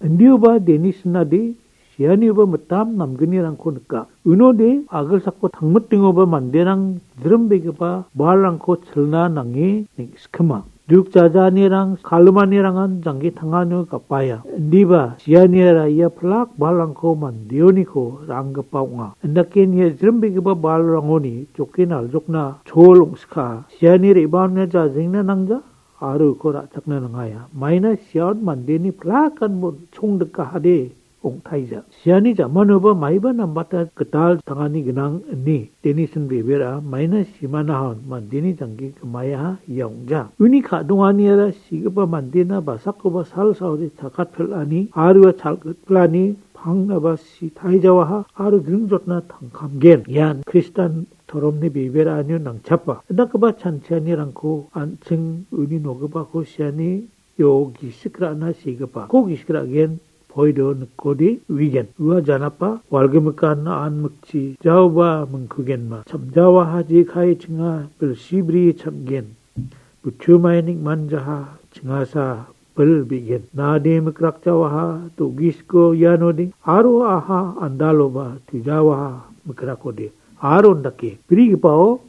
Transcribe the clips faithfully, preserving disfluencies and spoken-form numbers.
Indioba Denisin-ade sianioba mitam namgnirangko nika. Unode agilsako tangmitingoba manderang jrimbegipa balrangko chilna nange neng·skima. Duk jajanirang, kalumanirangan janggi tanganio gapaia. Indiba sianiara ia pilak balrangko mandeoniko ra·anggipa ong·a. Indake nia jrimbegipa balrangoni joke naljokna chol ong·skaa. Siani re·baona jajengna nangja aro uko ra·chakna nangaia. Maina siaon mandeni pilakan bon chongdikahade ong·taija. Siani jamanoba maiba nambata gital tangani gnang ine Denisin bebera maina simanahon mandeni janggi gimaiaha ia ong·ja. Uni ka·donganiara sigipa mandena basakoba salsaode chakatpil·ani aro ia chalgitpilani pangnaba sitaijawaha aro jringjotna tangkamgen. Ian Kristan toromni beberaanio nangchapa. Indakgipa chanchianirangko an·ching uni nogipako siani io gisik ra·na sigipa. Ko gisik ra·gen poido nikode uigen. Ua janapa walgimikan an mikchi jaoba mingkugenma. Chamjawaha jekai chinga bilsi bri chamgen. Buchumai nikmanjaha chingasa bil bi·gen. Nade mikrakjawaha do·gisko ianode aro aha andaloba tujawaha mikrakode. Aro indake brigipao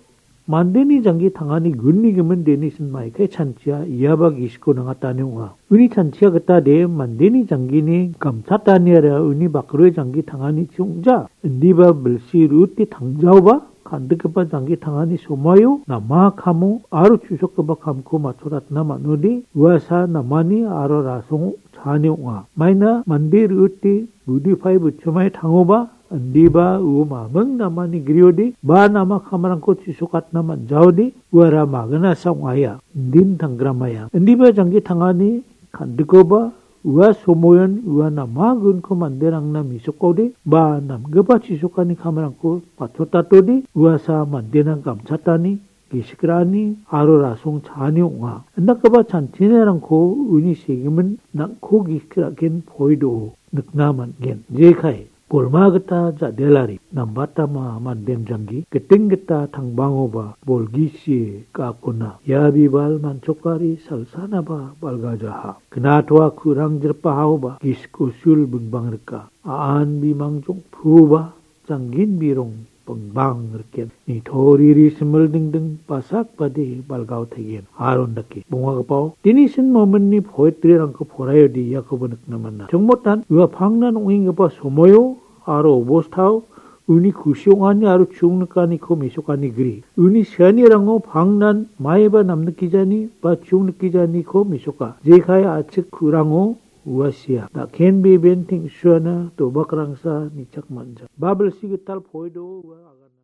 mandeni janggi tangani gunni gimin Denisin maikai chanchia iaba gisiko nangatani ong·a. Uni chanchia gitade mandeni janggini gamchataniara uni bakroe janggi tangani chi ong·ja. Indiba bilsi rute tangjaoba kan·dikgipa janggi tangani somoio nama kamo aro chu·sokgipa kamko matchoratna man·ode uasa namani aro rasongo chaani ong·a. Maina mande rute budupai buchumai tangoba indiba uo maming namani griode ba nama kamrangko chu·sokatna man·jaode uara maginasa ong·aia. Indin tanggrammaia. Indiba janggi tangani kan·dikoba ua somoion ua nama gunko manderangna mesokode ba namgipa chu·sokani kamrangko matchotatode uasa mandena gamchatani, gisik ra·ani aro rasong chaani ong·a. Indakgipa chanchirangko uni segimin nang·ko gisik ra·gen poido nikna man·gen. Jekai bolma gita ja·delari nambatama mandem janggi giting gita tangbangoba bolgisie ga·akona. Ia bibal manchokari salsanaba balgajaha. Knatoa ku·rang jirpahaoba gisik usul bingbang rika. A·an bimang jongpuoba janggin birong bingbang riken. Nitoriri simil dingding basak bade balgao taigen. Aron dake. Bongagipao, Denisin mominni poetry-rangko poraiode iakoba nikna man·a. Chongmotan, ua pangnan ong·enggipa somoio aro obostao uni kusi ong·ani aro chungnikaniko mesokani gri. Uni sianirango pangnan maiba namnikgijani ba chungnikgijaniko mesoka. Jekai a·chik ku·rango ua sia. Daken beben teng·suana dobakrangsa nichak man·ja. Babilsi gital poido ua agana.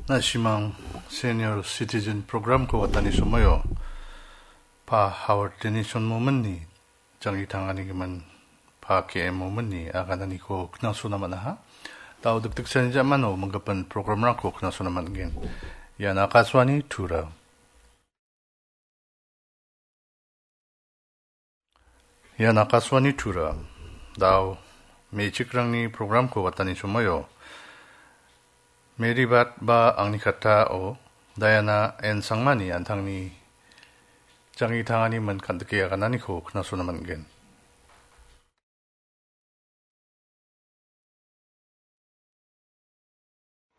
Nasimang Senior Citizen Program-ko watani somoio Pa Howard Denison mominni janggi tangani gimin Pa K M mominni agananiko knasona man·aha. Dao dikdikchani jamano minggipa program-rangko knasona man·gen. Ian Akashvani Tura. Ian Akashvani Tura. Dao me·chikrangni program-ko watani somoio Mary Bat ba Angni Katao Diana N Sangmani an·tangni janggi tangani min kan·dike agananiko knasona man·gen.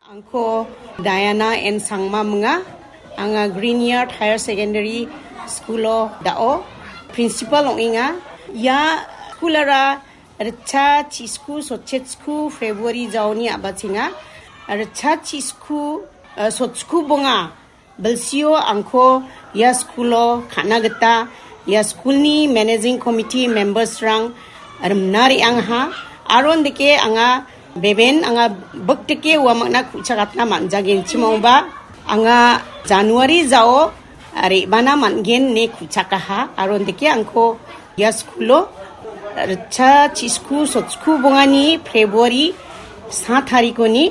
Angko Diana N Sangma minga, anga Green Yard Higher Secondary School-o dao principal ong·enga. Ia school-ara ritcha chisku sotchetsku February jaoni a·bachenga. Ritcha chisku, eh, sotsku bonga bilsio angko ia school-o ka·na gita ia school-ni managing committee members-rang rimna re·angaha. Aron dike anga beben anga bikdike uamangna ku·chakatna man·jagenchim ong·ba anga January jao re·bana man·gen ine ku·chakaha. Aron dike angko ia school-o ritcha chisku sotsku bongani February sa tarikoni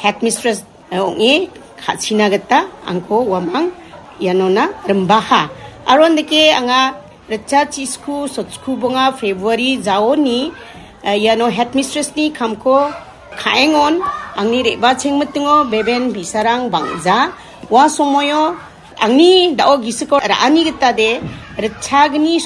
headmistress ong·e ka·china gita angko uamang ianona rimbaha. Aron dike anga ritcha chisku sotsku bonga February jaoni, eh, iano headmistress-ni kamko ka·engon angni re·bachengmitingo beben bi·sarang bang·ja. Ua somoio angni dao gisiko ra·ani gitade ritchagni